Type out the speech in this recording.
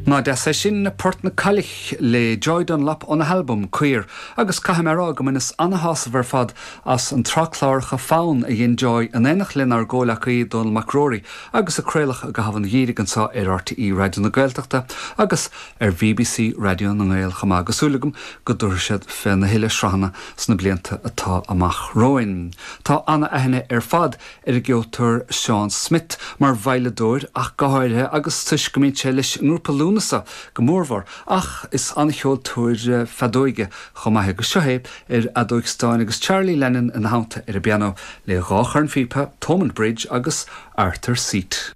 Ná deas é sin, Port na Cailliche le Joy Dunlop óna halbam, Caor. Agus caithfidh mé a rá go mbaineas ana-shásamh ar fad as an tsraith cláracha Fonn a dhein Joy in éineacht lenár gcomhleacaí Dónall Mac Ruairí agus a craoladh i gcaitheamh an gheimhridh anseo ar RTÉ Raidió na Gaeltachta agus ar BBC Raidió na nGael chomh maith agus súil agam go dtabharfaidh siad féna thuilleadh sraitheanna sna blianta atá amach romhainn. Tá ana-aithne ar fad ar an gceoltóir Seán Smith mar veidhleadóir ach go háirithe agus toisc go mbíonn sé leis an ngrúpa Lúnasa go mórmhór ach is an-cheoltóir feadóige chomh maith agus seo é ar fheadóig stáin agus Charlie Lennon ina theannta ar an bpianó le dhá chornphíopa, Thomond Bridge agus Arthur's Seat.